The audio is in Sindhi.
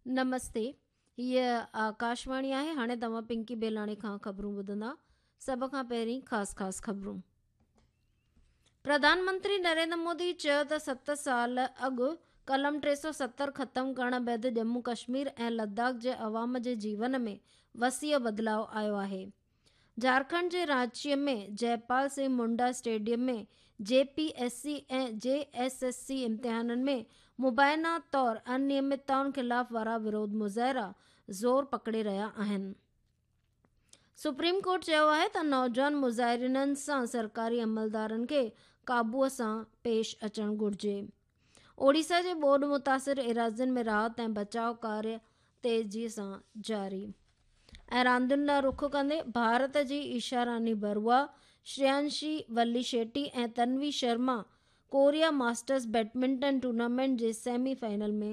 نمستي هيء آڪاشواڻي آهي هاڻي توهان پنڪي بيلاڻي کان خبرون ٻڌندا سڀ کان پهرين خاص خاص خبرون پرڌان منتري نريندر مودي چيو ته ست سال اڳ قلم 370 ختم ڪرڻ بعد ڄمون ڪشمير ۽ لداخ جي عوام جي جيون ۾ وسيع بدلاء آيو آهي جهارکنڊ جي Ranchi ۾ Jaipal Singh Munda stadium ۾ J P S C ۽ J S S C امتحانن ۾ مبينا طور انيمتائن خلاف وارا وروڌ مظاهرا زور پڪڙي رهيا آهن. سپريم ڪورٽ چيو آهي ته نوجوان مظاهرينن سان سرڪاري عملدارن کي قابو سان پيش اچڻ گهرجي. اوڙيسا جي ٻوڏ متاثر ايراضين ۾ راحت ۽ بچاء ڪاريه تيزي سان جاري ۽ راندين ڏانهن رخ ڪندي ڀارت جي Isha Rani Barua, Shreyanshi Vali Shetty ۽ Tanvi Sharma Korea masters badminton tournament جي سيمي فائنل ۾